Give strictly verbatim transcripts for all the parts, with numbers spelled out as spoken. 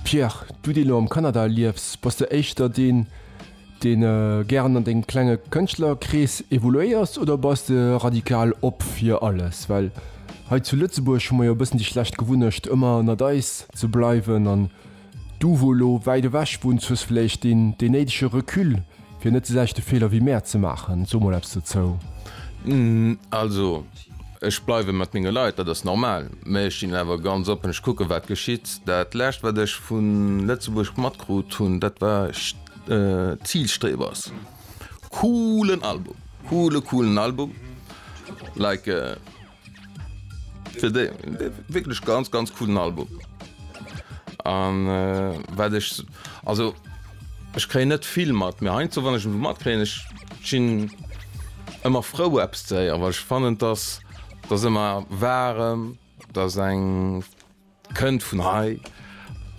Pierre, du deen elo am Kanada liefs, bass de éischter deen, deen gären an dengem klenge Kënschtlerkrees evoluéiers oder bass de radikal op fir alles? Well hei zu Lëtzebuerg hu mer jo e bëssen déi schlecht Gewunnecht ëmmer ënnert eis ze bleiwen an du wou elo wäit ewech wunns hues vläicht deen deen néidege Recul fir net de selwechte Feeler wéi mär ze maachen. So mol eppes dozou. Also ech bleiwe mat menge Leit, dat ass normal, mä ech sinn awer ganz oppen, ech kucke wat geschitt. Dat lescht wat ech vu Lëtzebuerg matkrut hunn, dat war Zielstrebers. Coolen Album, coole coolen Album, like. Fir déi wierklech ganz ganz coolen Album. An wat ech, also ech kréien net vill mat, mee heiansdo wann ech emol matkréien, ech sinn ëmmer frou eppes ze héieren, well ech fannen dass dass ëmmer waarem, dass eng kënnt vun hei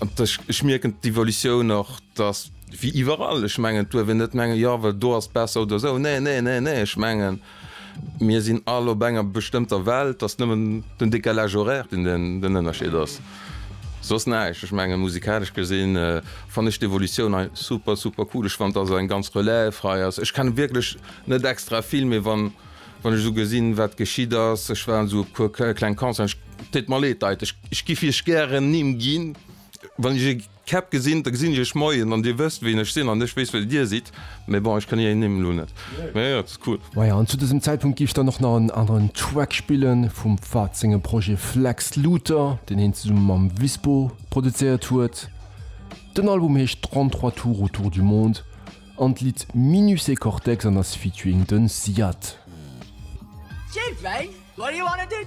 an ech ech mierken d'Evolutioun och, dass wéi iwwerall, ech mengen et duerf een net mengen, jo well do ass et besser oder esou, nee nee nee nee, ech mengen mir sinn all op enger bestëmmter Welt, ass nëmmen den Décalage horaire deen den Ënnerscheed ass, soss näischt. Ech mengen musikalesch gesinn fannen ech d'Evolutioun hei super super cool, ech fannen dass eng ganz Relève hei ass, ech kenne wierklech net extra vill, mee wann wann ech esou gesinn wat geschitt ass, ech war an esou e puer kleng Concerten, ech deet mer leed Leit, ech ech giff iech gären Nimm ginn, wann ech e Käpp gesinn, da gesinn ech iech moien an dir wësst wien ech sinn an ech weess wien dir sidd, mee bon ech kann ier Nimm elo net, mee jo et ass cool. Maja, an zu dësem Zäitpunkt giff ech dann och nach en aneren Track spillen vum Fahd sengem Projet Flex Looter, deen hien zesumme mam Wispo produzéiert huet. Den Album heescht trente-trois tours autour du monde an d'Lidd Minus et Cortex an ass featuring den Ziad. Children, what do you wanna do